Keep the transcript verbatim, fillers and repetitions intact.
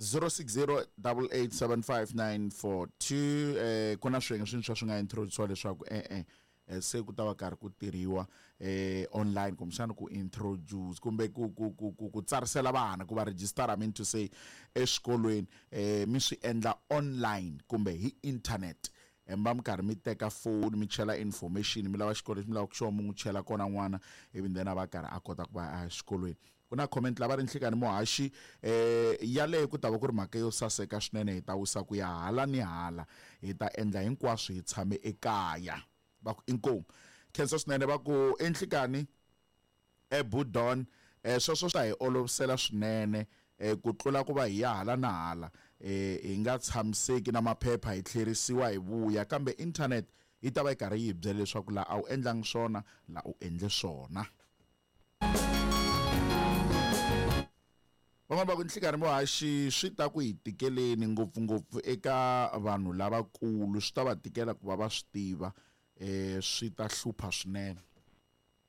zero six zero double eight seven five nine four two eh ku na swiyenge swintshwa swi nga introduce leswaku eh eh se ku ta va karhi ku tirhiwa eh online kumbexana ku introduce kumbe ku ku ku ku ku tsarisela vana ku va register I mean to say exikolweni eh mi swi endla online kumbe hi internet mi va mi karhi mi teka phone mi chela information mi lava xikolo lexi mi lavaka xona mi n'wi chela kona n'wana ivi then a va karhi a kota ku va a xikolweni ku na comment lava ri nhlikani muhaxi eh yaleyo ku ta va ku ri mhaka yo saseka swinene hi ta wisa ku ya hala ni hala hi ta endla hinkwaswo hi tshame ekaya va ku inkomu khensa swinene va ku enhlikani ebudon eh sweswo swa hi olovisela swinene eh ku tlula ku va hi ya hala na hala eh hi nga tshamiseki na maphepha hi tlherisiwa hi vuya kambe internet yi ta va yi karhi yi hi byela leswaku laha a wu endlangi swona laha u endle swona van'wana va ku nhlikani muhaxi swi ta ku hi tikeleni ngopfungopfu eka vanhu lavakulu swi ta va tikela ku va va swi tiva eh swi ta hlupha swinene.